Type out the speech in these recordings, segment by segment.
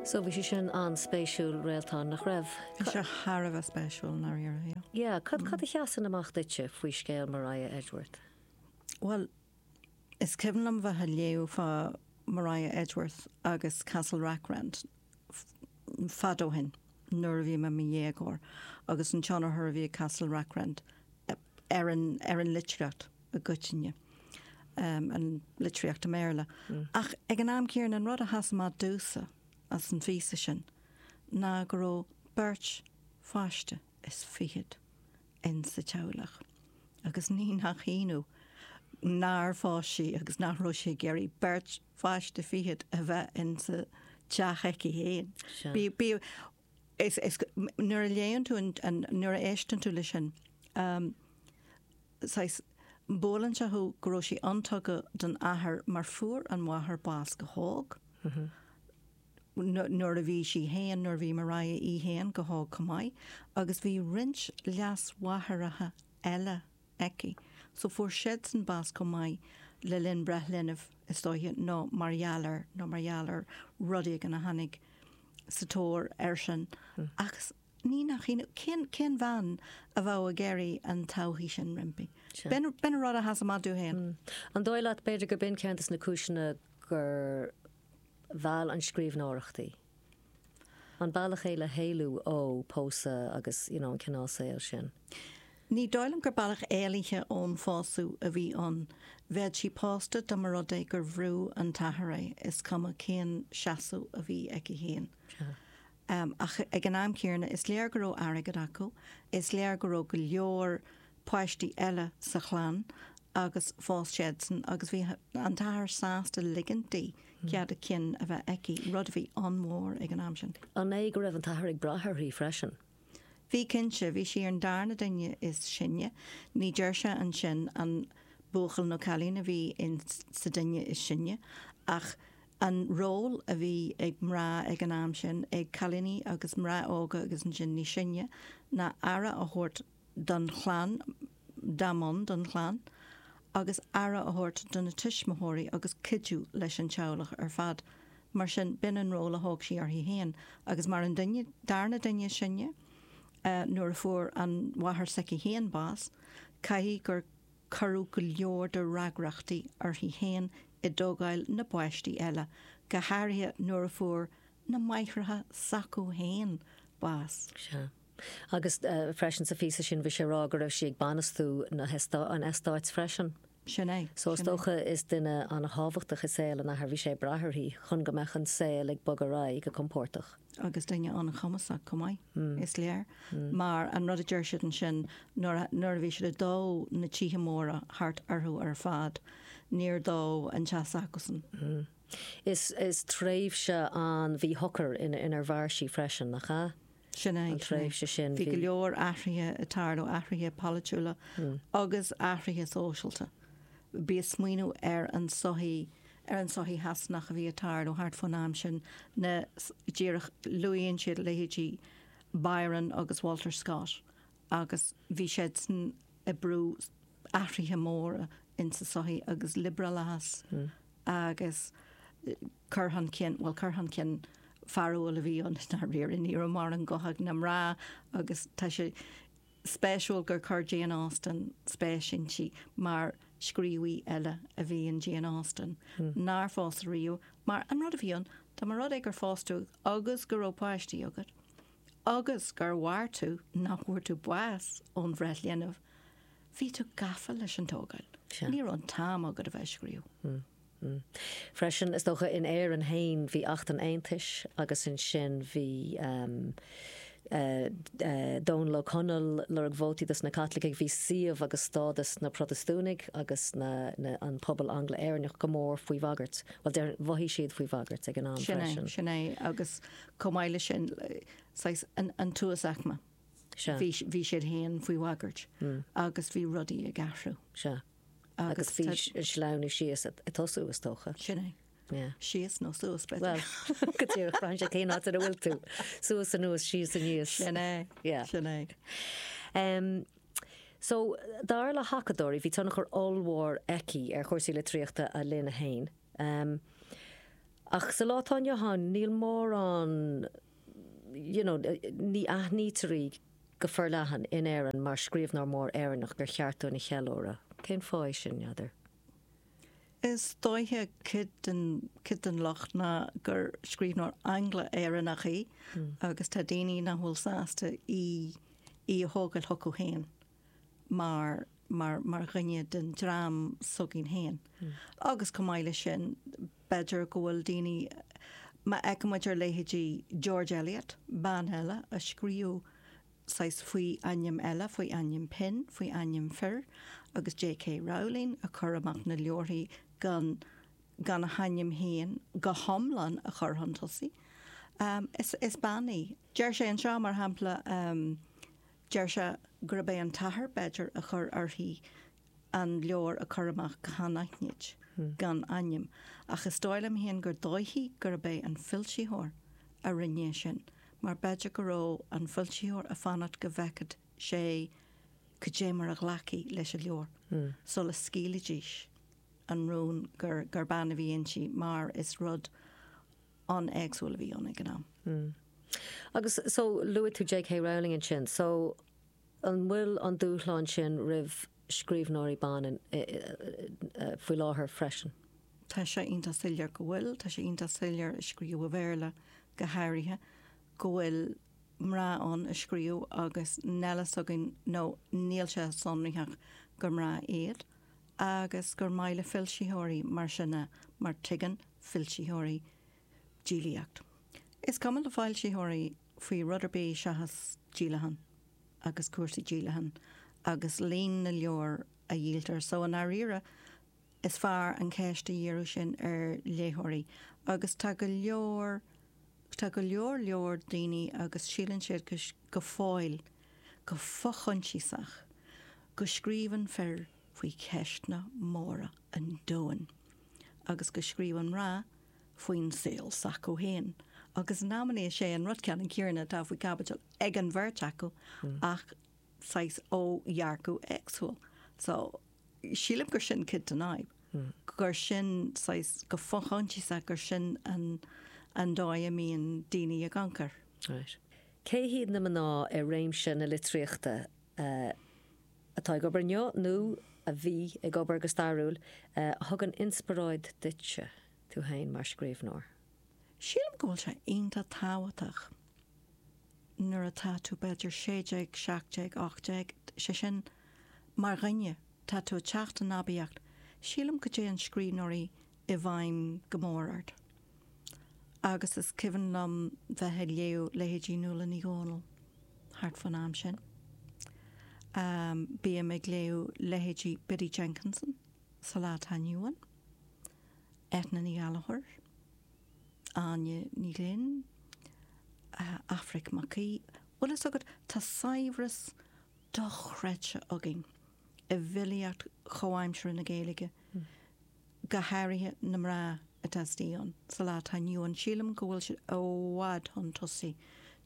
So bhí sé sin an-spéisiúil, Réaltán, nach raibh? Bhí sé thar a bheith spéisiúil, i ndáiríre, yeah. Yeah, cad, cad a sheasann amach duitse faoi scéal Maria Edgeworth? Bhuel, is cuimhin liom bheith ag léamh fá Maria Edgeworth agus Castle Rackrent fad ó shin, nuair a bhí mé i mo dhéagóir, agus an tionchar a bhí ag Castle Rackrent ar an, ar an litríocht i gcoitinne, an litríocht i mBéarla. Ach ag an am céanna, an rud a sheas amach domhsa as an phíosa sin ná go raibh beirt pháiste is fichead in sa teaghlach agus ní nach ionadh nár phós sí agus nach raibh sí ag iarraidh beirt pháiste fichead a bheith in sa teach aici féin. Bí, bí, is, is, nuair a léann tú an, an, nuair a éisteann tú leis sin, saghas, buaileann sé thú go raibh sí an-tugtha don athair mar fuair an mháthair bás go hóg. Nuair a bhí sí féin, nuair a bhí Maria í féin go hóg chomh maith, agus bhí roinnt leasmháithreacha eile aici. So fuair siadsan bás chomh maith le linn breith linbh, is dóiche, nó mar gheall ar, nó mar gheall ar rud éigin a tháinig sa tóir air sin. Agus ní nach ionadh, cén, cén bhean a bheadh ag iarraidh an todhchaí sin roimpi? B'in, b'in an rud a sheas amach domh féin. An dóigh leat, b'fhéidir, gur b'in ceann de na cúiseanna gur mheall an scríbhneoireacht í? An bealach é le héalú ó pósadh agus you know an cineál saoil sin? Ní dóigh liom gur bealach éalaithe ón phósadh a bhí ann. Bheadh sí pósta dá mba rud é gur bhrú an t-athair é, is cuma cén seasamh a bhí aici féin. Ach ag an am céanna, is léir go raibh airgead acu, is léir go raibh go leor páistí eile sa chlann agus phós siadsan agus bhí an t-athair sásta ligint di cead a cinn a bheith aici, rud a bhí an-mhór ag an am sin. An é go raibh an t-athair ag brath uirthi freisin? Bhí cinnte, bhí sí ar an darna duine is sine. Ní deir sé ansin an buachaill nó cailín a bhí in sa duine is sine ach an ról a bhí ag mná ag an am sin, ag cailíní agus mná óga agus ansin níos sine, ná aire a thabhairt don chlann, dá mb'ann don chlann, agus aire a thabhairt do na tuismitheoirí agus cuidiú leis an teaghlach ar fad. Mar sin, b'in an ról a thóg sí uirthi féin. Agus mar an duine, darna duine is sine, nuair a fuair an mháthair s'aici féin bás, caithfidh gur cuireadh go leor de fhreagrachtaí uirthi féin i dtógáil na bpáistí eile, go háirithe nuair a fuair na máithreacha s'acu féin bás. Sea. Agus freisin sa phíosa sin bhí sé ag rá go raibh sí ag bainistiú na an eastáit freisin. Sin é. So is dócha is duine an-thábhachtach i saol an athar, bhí sé ag brath uirthi chun go mbeadh an saol ag bogadh ar aghaidh go compordach. Agus duine an-chumasach chomh maith, is léir. Mar an rud a deir siad ansin, nuair a bhí siad ag dó na tithe móra thart orthu ar fad, níor dódh an teach s'acusan. Is tréimhse an-mhíshocair inar mhair sí freisin, nach ea? Sin é. An tréimhse sin, bhí. Bhí go leor athruithe ag tarlú, athruithe polaitiúla agus athruithe sóisialta. Bí ag smaoineamh ar an sochaí, ar an sochaí Shasanach a bhí ag tarlú thart fán am sin, na, díreach, luaíonn siad leithéidí Byron agus Walter Scott agus bhí siadsan ag brú athruithe móra insa sochaí agus liobrálachas agus cur chun cinn, bhuel cur chun cinn fearúil a bhí ann i ndáiríre, ní raibh mórán guth ag na mná agus tá sé spéisiúil gur chuir Jane Austen spéis inti mar scríobhaí eile a bhí in Jane Austen nár phós riamh mar an rud a bhí ann, dá mba rud é gur phós tú agus go raibh páistí agat agus gur mhair tú, nach bhfuair tú bás ón bhreith linbh, bhí tú gafa leis an tógáil. Ní raibh an t-am agat a bheith ag scríobh. Freisin, is dócha, in Éirinn féin, bhí Acht an Aontais agus ansin bhí Dónall Ó Conaill ag lorg vótaí dos na Caitlicigh, bhí suíomh agus stádas na Protastúnaigh agus na an pobal Angla-Éireannach go mór faoi bhagairt. Bhuel, déarfainn, mhothaigh siad faoi bhagairt ag an am Sin é, freisin. sin é. Agus chomh maith leis sin, saghas an an t-uasaicme. Sea. Bhí bhí siad féin faoi bhagairt agus bhí rudaí ag athrú. Sea. Agus bhí sleamhnú síos ag tosú, is dócha. Sin é. Yeah. Síos nó suas, b'fhéidir. Bhuel, go díreach, braitheann sé cén áit ina bhfuil tú. Suas anuas, síos aníos. Sin é. Yeah. Sin é. Um, so, dar le hacadóirí, bhí tionchar ollmhór aici ar chúrsaí litríochta a linne féin. Um, Ach sa lá atá inniu ann, níl mórán, you know, ní aithnítear í go forleathan in Éirinn mar scríbhneoir mór Éireannach gur cheart dúinn a cheiliúradh. Cén fáth é sin, n'fheadar? Is dóiche cuid den, cuid den locht ná gur scríbhneoir Angla-Éireannach í agus tá daoine nach bhfuil sásta í, í a thógáil chucu féin mar, mar, mar dhuine den dream s'againn féin. Agus chomh maith leis sin, b'fhéidir go bhfuil daoine, má fheiceann muid ar leithéidí George Eliot, bean eile a scríobh saghas faoi ainm eile, faoi ainm pinn, faoi ainm fir, agus J.K. Rowling a chur amach na leabharthaí gan, gan a hainm féin go hiomlán a chur chun tosaigh. Is, is bean í. Deir sé anseo, mar shampla, deir sé gurb é an t-athair, b'fhéidir, a chuir uirthi an leabhar a chur amach go hanaithnid, gan ainm, ach is dóigh liom féin gur dóichí gurb é an foilsitheoir a rinne é sin, mar b'fhéidir go raibh an foilsitheoir ag fanacht go bhfeicfeadh sé cad é mar a ghlacfaí leis an leabhar sula scaoilfidís an rún gur gur bean a bhí inti, mar is rud an-éagsúil a bhí ann ag an am. Agus so, luaigh tú J.K. Rowling ansin, so An bhfuil an dúshlán sin roimh scríbhneoirí ban faoi láthair freisin? Tá sé iontach soiléir go bhfuil. Tá sé iontach soiléir a scríobh i Bhéarla go háirithe, go bhfuil mná ann a scríobh agus níl a fhios againn nó níl sé sonraithe gur mná iad agus gur maith le foilsitheoirí mar sin é mar tuigeann foilsitheoirí díolaíocht. Is cuma le foilsitheoirí faoi rud ar bith seachas díolachán agus cúrsaí díolacháin agus líon na leabhar a dhíoltar. So i ndáiríre is fearr an cheist a dhíriú sin ar léitheoirí agus tá go leor, tá go leor leor daoine agus síleann siad go, go fóill, go fo-choinsiasach, go scríobhann fir faoi cheisteanna móra an domhain agus go scríobhann mná faoin saol s'acu féin agus in amannaí is é an rud ceannann céanna atá faoi chaibidil ag an bheirt acu ach saghas ó dhearcadh éagsúil. So, sílim gur sin cuid den fhadhb, gur sin saghas, go fo-choinsiasach gur sin an an dóigh a mbíonn daoine ag amharc air. Right. Cé hiad na mná i réimse na litríochta atá ag obair inniu nó a bhí ag obair go stairiúil, a thugann inspioráid duitse, tú féin mar scríbhneoir? Sílim go bhfuil sé iontach tábhachtach nuair atá tú b'fhéidir 16, 17, 18, sé sin, mar dhuine, tá tú ag teacht in aibíocht, sílim go dtéann scríbhneoirí i bhfeidhm go mór ort. Agus is cuimhin liom bheith ag léamh leithéidí Nuala Ní Dhomhnaill thart fán am sin. Bím ag léamh leithéidí Biddy Jenkinson sa lá atá inniu ann, Eithne Ní Ghallchóir, Áine Ní Ghlinn, Aifric Mac Aoidh. Bhfuil fhios agat, tá saibhreas dochreidte againn i bhfilíocht chomhaimseartha na Gaeilge. go háirithe na mná atá istigh ann sa lá atá inniu ann. Sílim go bhfuil siad i bhfad chun tosaigh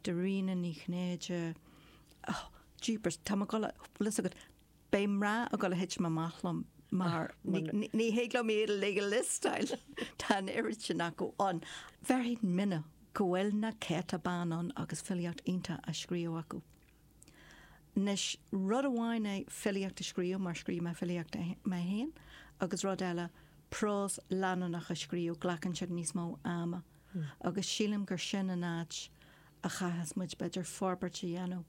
de Ríona Ní Chinnéide, oh, jeepers, tá mé ag dul a, bhfuil fhios agat, beidh mná ag dul a thitim amach liom mar ní thig liom iad uilig a liostáil, tá an oiread sin acu ann. Bhéarfainn mine go bhfuil na céadta bean ann agus filíocht iontach á scríobh acu. Anois, rud amháin é filíocht a scríobh, mar scríobh mé filíocht mé féin, agus rud eile prós leanúnach a scríobh, glacann siad níos mó ama. Agus sílim gur sin an áit a chaithfeas muid, b'fhéidir, forbairt a dhéanamh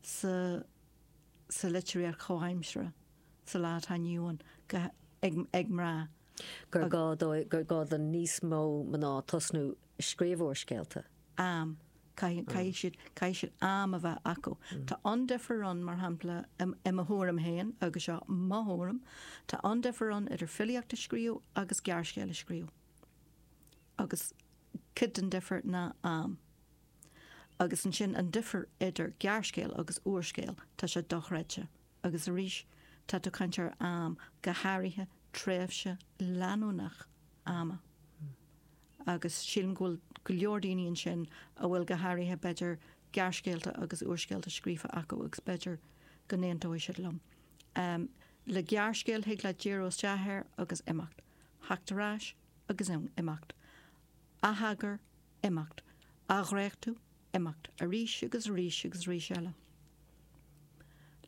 sa sa litríocht chomhaimseartha sa lá atá inniu ann, go, ag, ag mná. Gur gá dó, gur gá do níos mó mná tosnú ag scríobh úrscéalta. Am. Caithfidh siad, caithfidh siad am a bheith acu. Tá an-difear ann, mar shampla, i mo thuairim féin, agus seo mo thuairim, tá an-difear ann idir filíocht a scríobh agus gearrscéal a scríobh. Agus cuid den difear ná am. Agus ansin an difear idir gearrscéal agus úrscéal, tá sé dochreidte. Agus arís, tá tú ag caint ar am, go háirithe tréimhse leanúnach ama. Agus sílim go bhfuil go leor daoine ansin a bhfuil go háirithe b'fhéidir gearrscéalta agus úrscéalta scríofa acu agus b'fhéidir go n-aontóidh siad liom. Le gearrscéal thig leat díriú isteach air agus imeacht. Theacht ar ais agus imeacht. Atheagar, imeacht. Athdhréachtú, imeacht. Arís agus arís agus arís eile.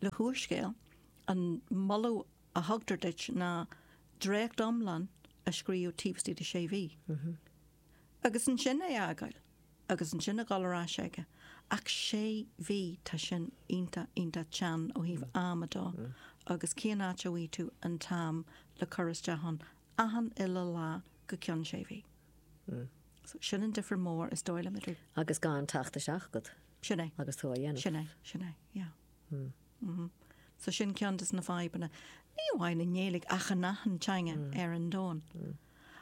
Le húrscéal, an moladh a thugtar duit ná dréacht iomlán a scríobh taobh istigh de sé mhí. Agus ansin é a fhágáil. Agus ansin a dhul ar ais aige. Ach sé mhí, tá sin iontach, iontach teann ó thaobh ama dó. Agus cén áit a bhfaighidh tú an t-am le cur isteach ann achan uile lá go ceann sé mhí? So sin an difear mór is dóigh liom idir. Agus gan teacht isteach agat. Sin é. Agus tú á dhéanamh. Sin é, sin é, yeah. Mm. So sin ceann des na fadhbanna. Ní amháin i nGaeilge ach in achan teanga ar an domhan.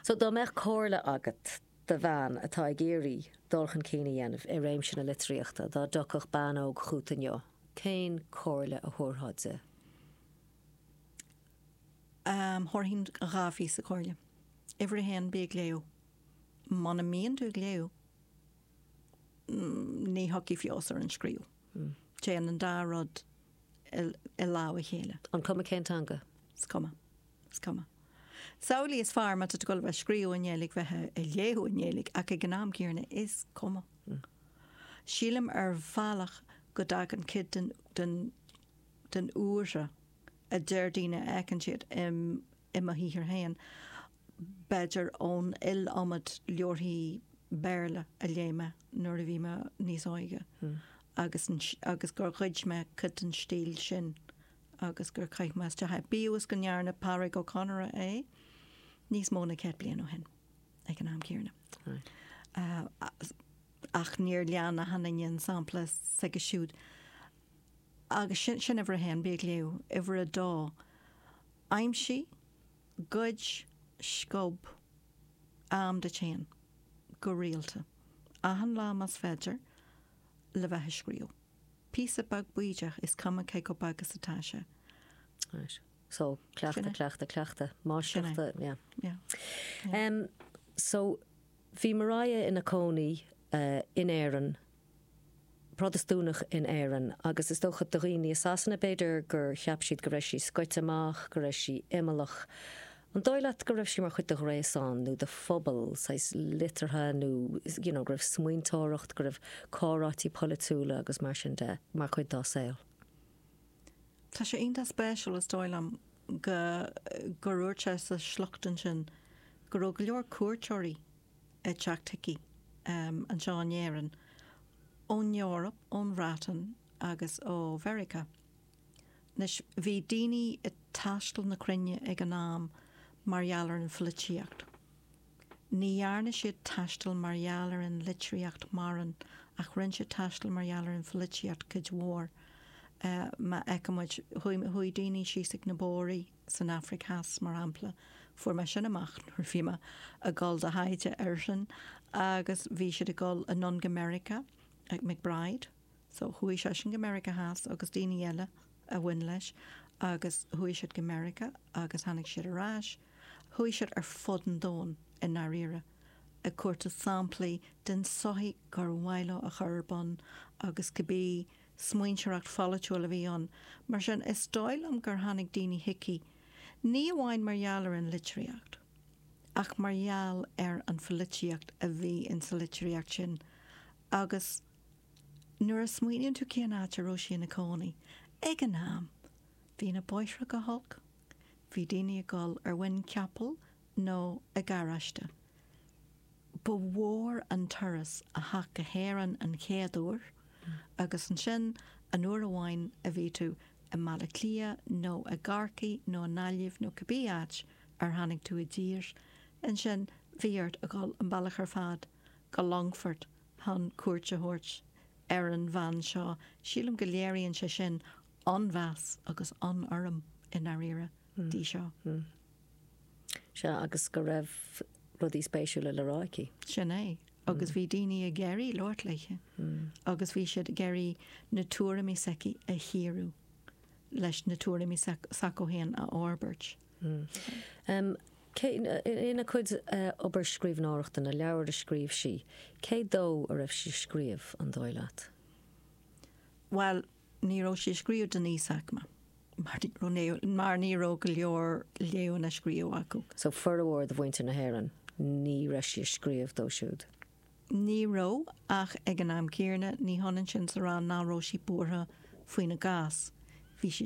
So dá mbeadh comhairle agat do bhean atá ag iarraidh dul chun cinn a dhéanamh i réimse na litríochta, dá dtiocfadh bean óg chugat inniu, cén comhairle a thabharfá di? Thabharfainn 2 phíosa comhairle. Uimhir a haon, bí ag léamh. Muna mbíonn tú ag léamh, ní thiocfaidh feabhas ar an scríobh. Téann an dá rud i lámh a chéile. An cuma cén teanga? Is cuma. Is cuma. Samhlaigh is fearr má tá tú ag dul a bheith ag scríobh i nGaeilge bheith ag léamh i nGaeilge ach ag an am céanna is cuma. Sílim ar bhealach go dtagann cuid den den den úire a deir daoine a fheiceann siad i mo shaothar féin, b'fhéidir ón iliomad leabharthaí Béarla a léigh mé nuair a bhí mé níos óige agus agus gur ghoid mé cuid den stíl sin agus gur chaith mé isteach é. Bíodh is go ndearna Pádraig Ó Conaire é níos mó ná 100 bliain ó shin ag an am céanna. Ach níor lean achan duine an sampla s'aige siúd. Agus sin, sin uimhir a haon, bí ag léamh. Uimhir a dó, aimsigh, goid, sciob am duit féin, go rialta, achan lá más féidir, le bheith ag scríobh. Píosa beag bídeach, is cuma cé chomh beag is atá sé. Right. So, cleachtadh, cleachtadh, cleachtadh. Máistreacht, yeah. Yeah. Um, so, bhí Mariah ina cónaí uh, in Éirinn Protastúnach in Éirinn agus is dócha do dhaoine i Sasana b'fhéidir gur cheap siad go raibh sí scoite amach, go raibh sí imeallach. An dóigh leat go raibh sí mar chuid de ghréasán nó de phobal saghas liteartha nó you know go raibh smaointeoireacht, go raibh comhráití polaitiúla agus mar sin de mar chuid dá saol? Tá sé iontach spéisiúil is dóigh liom go gur dhúirt sé sa sliocht ansin go raibh go leor cuairteoirí ag teacht chuici anseo in Éirinn ón Eoraip, ón Bhreatain agus ó Mheiriceá. Anois, bhí daoine ag taisteal na cruinne ag an am mar gheall ar an pholaitíocht. Ní dhearna siad taisteal mar gheall ar an litríocht mórán ach rinne siad taisteal mar gheall ar an pholaitíocht cuid mhór. Má fheiceann muid, chuaigh daoine síos ag na Bóraigh, san Afraic Theas, mar shampla. Fuair mé sin amach nuair a bhí mé ag dul do thaighde air sin agus bhí siad ag dul anonn go Meiriceá ag MacBride. So chuaigh seisean go Meiriceá Theas agus daoine eile a bhain leis agus chuaigh siad go Meiriceá agus tháinig siad ar ais. Chuaigh siad ar fud an domhain i ndáiríre ag cuartú samplaí den tsochaí gur mhaith leo a chur ar bun agus cibé smaointeoireacht pholaitiúil a bhí ann. Mar sin, is dóigh liom gur tháinig daoine chuici, ní amháin mar gheall ar an litríocht, ach mar gheall ar an pholaitíocht a bhí insa litríocht sin. Agus nuair a smaoiníonn tú cén áit a raibh sí ina cónaí ag an am, bhí na bóithre go holc, bhí daoine ag dul ar mhuin capaill nó i gcarráiste. Ba mhór an turas a theacht go hÉirinn an chéad uair agus ansin an uair amháin a bhí tú i mBaile Átha Cliath nó i gCorcaigh nó i nGaillimh nó cibé áit ar tháinig tú i dtír, ansin bhí ort a dhul an bealach ar fad go Longfort chun cuairt a thabhairt ar an bhean seo. Sílim go léiríonn sé sin an-mheas agus an-urraim i ndáiríre di seo. Sea, agus go raibh rudaí spéisiúla le rá aici. Sin é. Agus bhí daoine ag iarraidh labhairt léithe agus bhí siad ag iarraidh na tuairimí s'aici a chíoradh leis na tuairimí s'acu féin a fhorbairt. Cé, ina cuid obair scríbhneoireachta, na leabhair a scríobh sí, cé dó a raibh sí ag scríobh, an dóigh leat? Bhuel, ní raibh sí ag scríobh don íosaicme. Mar ní raibh go leor léamh ná scríobh acu. So formhór de mhuintir na hÉireann. Ní raibh sí ag scríobh dóibh siúd. Ní raibh, ach ag an am céanna, ní hionann sin is a rá nach raibh sí buartha faoina gcás.